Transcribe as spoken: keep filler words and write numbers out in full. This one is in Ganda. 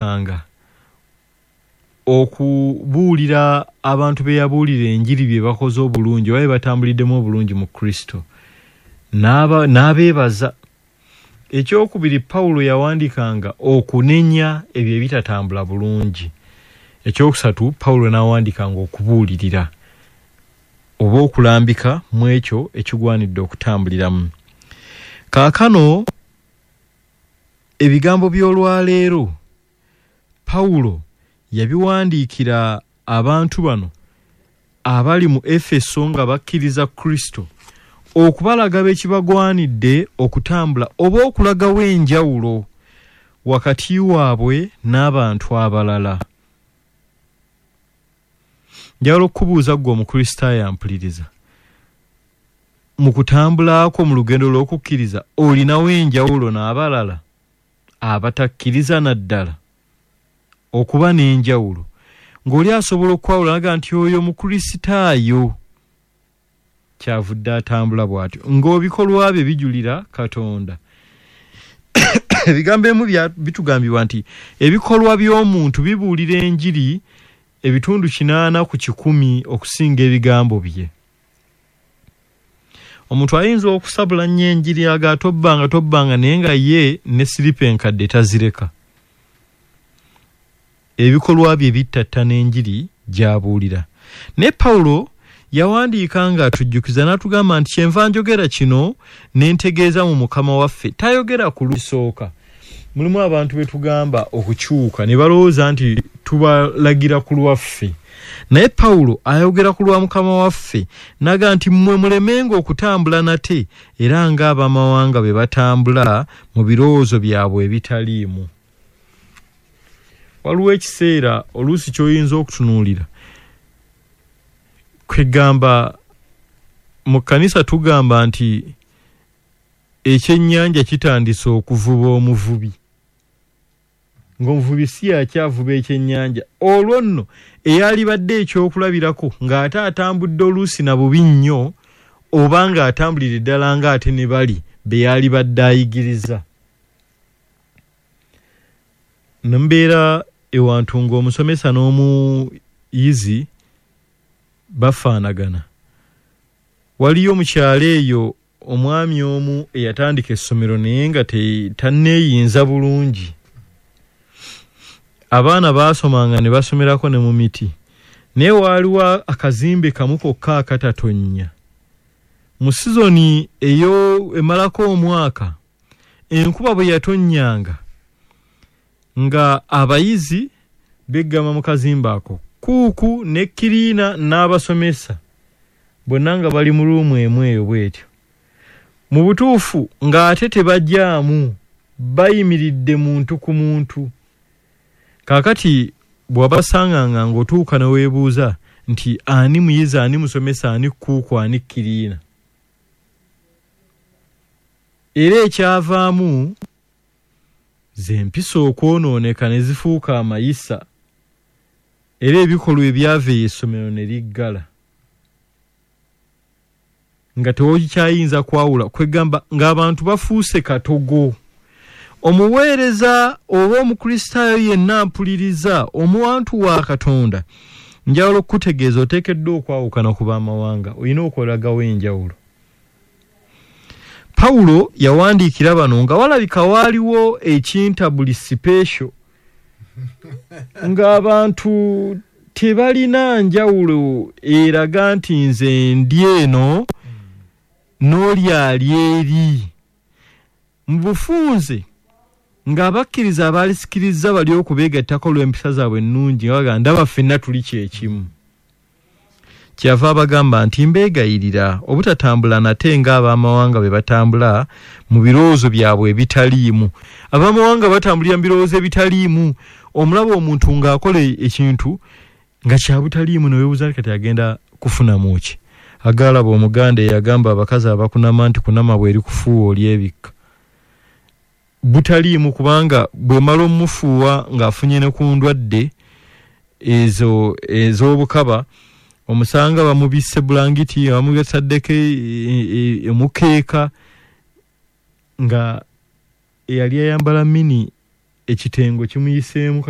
Nga okubuulira abantu be yabuulira enjiri bye bakoze obulungi oba bye batambuliddemu obulungi mu Kristo, n'abeebaza. Ekyokubiri, Pawulo yawandiikanga okunenya ebyo ebitatambula bulungi. Ekyokusatu, Pawulo n'awandiikanga okubuulirira oba okulambika mu ekyo ekigwanidde okutambuliramu. Kaakano ebigambo by'olwaleero Pawulo yabiwandiikira abantu bano abali mu Efeso nga bakkiriza Kristo, okubalaga be kibagwanidde okutambula oba okulagawo enjawulo wakati waabwe n'abantu abalala. Njagala okubuuza ggwe Omukristaayo ampuliriza, mu kutambula kwo mu lugendo lw'okukkiriza olinawo enjawulo n'abalala abatakkiriza naddala? Okuba n'enjawulo ng'oli asobola okwawula n'agamba nti oyo Mukristaayo kyavudde atambula bw'atyo, ng'obikolwa bye bijulira Katonda. Ebigambo ebimu bitugambibwa nti ebikolwa by'omuntu bibuulira enjiri ebitundu kinaana ku kikumi okusinga ebigambo bye. Omuntu ayinza okusabula nnyo enjiri aga tobbanga tobbanga, naye nga ye ne siripa enkadde tazireka. Ebikolwa bye bittattana enjiri gy'abuulira. Naye Pawulo yawandiika ng'atujjukiza n'atugamba nti kyenva njogera kino ne ntegeeza mu Mukama waffe. Tayogera ku lusooka. Mulimu abantu be tugamba okukyuka ne balowooza nti tubalagira ku lwaffe, naye Pawulo ayogera ku lwa Mukama waffe n'agamba nti mmwe mulemenga okutambula nate era ng'abamawanga bwe batambula mu birowoozo byabwe ebitaliimu. Waliwo ekiseera oluusi ky'oyinza okutunuulira, kwegamba mu kkanisa tugamba nti ekyennyanja kitandise okuvuba omuvubi, ng'omuvubi si yakyavuba ekyennyanja. Olwo nno eyalibadde ekyokulabirako ng'ate atambudde oluusi na bubi nnyo, oba ng'atambulira ddala ng'ate ne bali be yalibadde ayigiriza. Nembeera ewantu ng'omusomesa n'omuyizi bafaanagana. Waliyo mu kyalo eyo omwami omu eyatandika essomero naye nga tanneeyinza bulungi. Abaana baasomanga ne basomerako ne mu miti, naye waaliwo akazimbe kamu kokka akatatonnya. Mu sizoni eyo emalako omwaka, enkuba bwe yatonnyanga nga abayizi beggama mu kazimbe ako, kuuku ne kiriina n'abasomesa bonna nga bali mu ruumu emu eyo bw'etyo. Mu butuufu ng'ate tebajjaamu, bayimiridde muntu ku muntu. Kaakati bw'obasanganga ng'otuuka ne weebuuza nti ani muyizi, ani musomesa, ani kuuku, ani kiriina. Era ekyavaamu z'empisa okwonooneka ne zifuuka amayisa, era ebikolwa ebyava eyo essomero ne liggala nga tewokyayinza kwawula. Kwegamba ng'abantu bafuuse katogo. Omuweereza oba Omukristaayo yenna ampuliriza, omuwantu wa Katonda, njagala okukutegeeza oteekeddwa okwawukana ku b'amawanga, olina okwolagawo enjawulo. Pawulo yawandiikira bano nga walabika waaliwo ekintabuli special, ng'abantu tebalina njawulo eraga nti nze ndi eno n'oli ali eri. Mu bufunze ng'abakkiriza abaalisikiriza bali okubeegattako olw'empisa zaabwe ennungi, nga bagamba ndaba ffenna tuli kyekimu. Kyava abagamba nti mbeegayirira obutatambula nate ng'abamawanga bwe batambula mu birowoozo byabwe ebitaliimu. Abamawanga batambulira mu birowoozo ebitaliimu. Omulaba omuntu ng'akola ekintu nga kya butaliimu ne weebuuza kati agenda kufunamu ki? Agaalaba Omuganda eyagamba abakazi abakunama nti kunama bw'eri kufuuwa olyebikka. Butaliimu, kubanga bw'emala omufuuwa ng'afunye ne ku ndwadde ezo ez'obukaba, omusanga bamubisse bulangiti, bamutaddeko omukeeka, nga eyali ayambala mini Ekitengo kimuyiseemu.